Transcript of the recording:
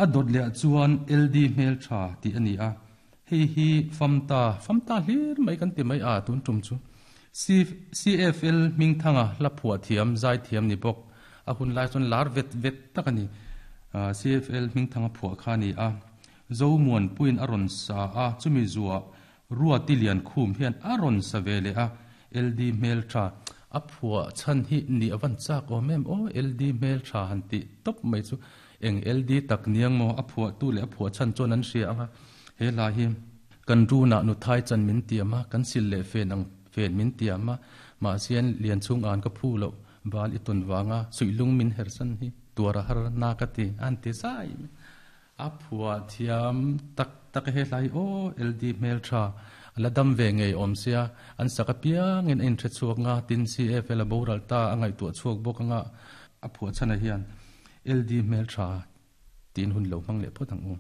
A dawt leh ah chuan LD hmel tha tih a ni a, hei hi famta, famta hlir mai kan ti mai a tun tum chu. CFL Hmingthanga hla phuah thiam, zai thiam ni bawk, a hun lai chuan lar vet vet tak a ni. CFL Hmingthanga phuah kha a ni a, Zomuanpuiin a rawn sa a, chumi zuah Ruati Liankhum hian a rawn sa ve leh a, LD hmeltha a phuah chhan hi nih a van chak awm em aw, LD hmeltha han tih tawp mai chu eng LD tak niang maw a phuahtu leh a phuah chhan chuan an hria ang a, he hla hi kan runah nuthai chan min tiam a, kan sil leh fen ang fen min tiam a, mahse Lianchhung an ka phu loh bal i tawn vanga suihlung min hersan hi tuar a har na ka ti a han ti zai mai. A phuah thiam tak tak e he hlai aw LD hmeltha a la dam ve ngei awm sia an sak apiangin a inhre chhuak nga tin CFL a boral ta a ngaihtuah chhuak bawk anga a phuah chhanah hian LD hmeltha tiin hun lo hmang leh phawt ang u.